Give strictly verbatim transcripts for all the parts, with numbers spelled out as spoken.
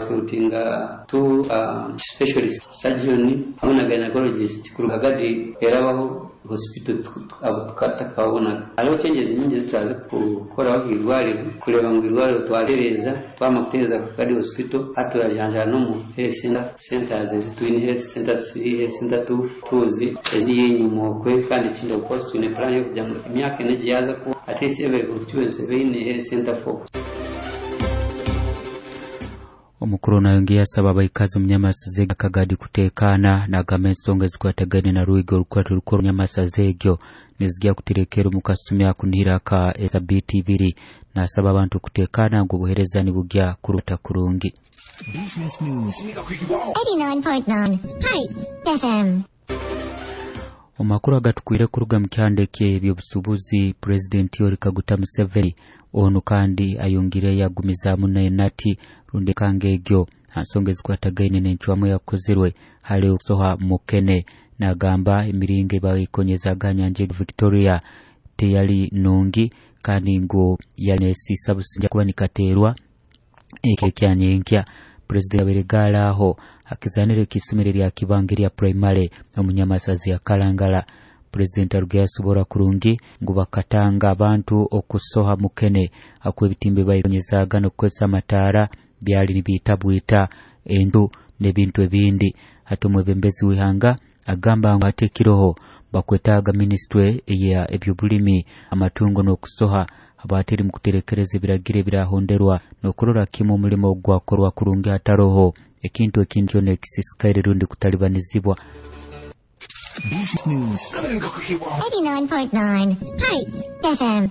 Recruitinga two uh, specialist surgeon hamwe na gynecologist kuruga Kagadi erabaho hospital abo tukatakabona. Hariho changes nyingi zituraza kukoraho irwariro kureba ngu irwariro twatereza, twama kutereza Kagadi Hospital, hati turajanjara no mu health center centers ezitwine, health center three, health center two, tuzi eziri enyuma okwe. Kandi ekindi, of course, twine plan yo kugira ngu emyaka ena egiyaza kuba at least every constituency beine health center four. Omukuru nayongeye asaba abaikazi omunyamasaza Kagadi kutekana, nagamba ensonga ezikwatagaine na Rwiga orukwata rukuru nyamasaza egyo nizijya kuterekera omu kasumi akunihira ka esabiti ibiri. Nasaba abantu kutekana ngu obuhereza nibugya kuruta kurungi. Business News. eighty-nine point nine Spice F M. Omakuru agatukwire kuruga mu kyanda eky'ebyobusubuzi, Pulezidenti Yoweri Kaguta Museveni ono kandi ayongire yagumizaamu nenati rundi kanga egyo nsonga ezikwatagaine n'encwamu yakozerwe hali okusoha mukene. Nagamba emiringo ebayikonyezaga nyanja Victoria teyali nungi kandi ngu yanesiisa businja kuba nikateerwa ekyanyenkya. Pulezidenti aberegala aho akizanire ekisomero lya Kibange lya primary omunyamasazi ya Kalangala. Pulezidenti aruge yasobora kurungi ngu bakatanga abantu okusoha mukene akuba ebitimbe bayikonyezaga n'okukozesa amataara byali nibiitabwita enju n'ebintu ebindi. Hati omwebembezi w'ihanga agamba ngu hati ekiroho bakwetaaga minisitule eya ebyobulimi, amatungo n'okusoha abateri mu kuterekereza ebiragiro ebirahonderwa n'okurora kimu omulimo gwakorwa kurungi hataroho ekintu ekindi kyona ekisisikaire rundi kutalibanizibwa. Business News. eighty-nine point nine Spice F M.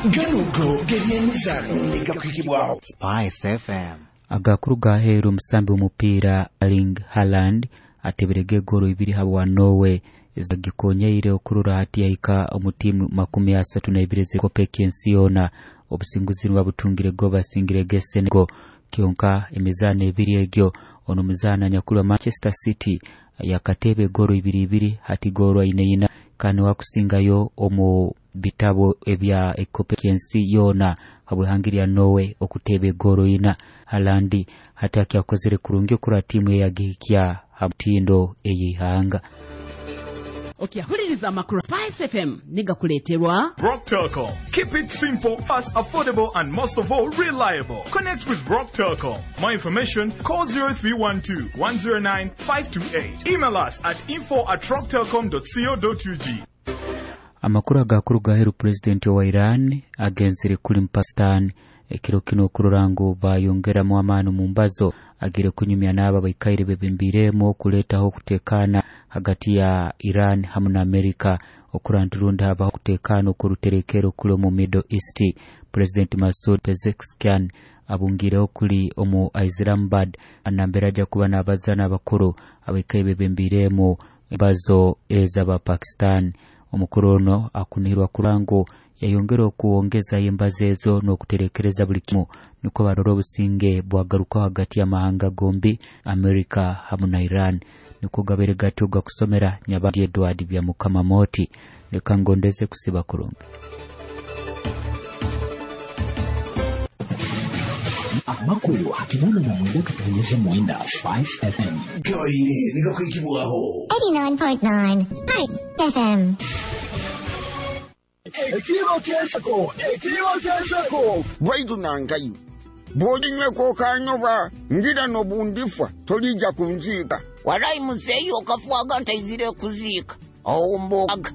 Ganugo gebyemizano negakwikibwaho Spice F M. Agakuru gaheru, omusambi w'omupiira Erling Haaland ateberege egoro ibiri habwa Norway ezagikonyeire okurora hati yahika omu tiimu makumi asatu na ibiri ez'ekopo eky'ensi yoona. Obusinguzi nibabutungire go basingire ge Senegal kyonka emizaano ebiri egyo. Ono omuzaana nyakuli wa Manchester City yakateba egoro ibiri ibiri, hati goro aine ina kandi wakusingayo omu bitabo ebya ekopo ky'ensi yoona habw'ihanga lya Norway okuteba egoro ina. Haaland hati akyakozere kurungi okura tiimu ye yagihikya ha mutindo ey'ihanga. Okyahuliriza amakuru Spice F M negakuleeterwa Rock Telcom. Keep it simple, fast, affordable, and most of all, reliable. Connect with Rock Telcom. More information, call zero three one two one zero nine five two eight. Email us at info at rocktelcom dot co dot U G. Amakuru agakuru gaheru, pulezidenti wa Iran agenzere kuli mu Pakistan ekiro kino okurora ngu bayongeramu amaani mu mbazo agire kunyumya n'abo abaikaire bebembiremu okuleetaho okutekana hagati ya Iran hamu na Amerika okura nti rundi habaho okutekana okuruterekero kuli omu Middle East. Pulezidenti Masoud Pezeshkian abungireho kuli omu Islamabad nambere ajja kuba n'abaza n'abakuru abaikaire bebembiremu embazo ez'aba Pakistan. Omukuru ono akunihirwa kurora ngu yayongera okuwongezayo embazo ezo n'okuterekereza buli kimu nukwo barora obusinge bwagarukaho hagati y'amahanga gombi, Amerika hamu na Iran. Nikwo gabaire gatyo gakusomera Nyabandi Edward Byamukama Moti. Leka ngondeze kusiba kurungi. Amakuru akinana na mwenda katunyeze mwenda Spice F M. Gabaire negakwikibwaho eighty-nine point nine Spice F M. Ekiro kyensako, ekiro kyensako. Bwaitu nankayo bw'olinyweko kanyoba ngira n'obundifa tolijja kunziika. Walayi muzeeyi, okafuaga ntaizire kuziika owumbukaga.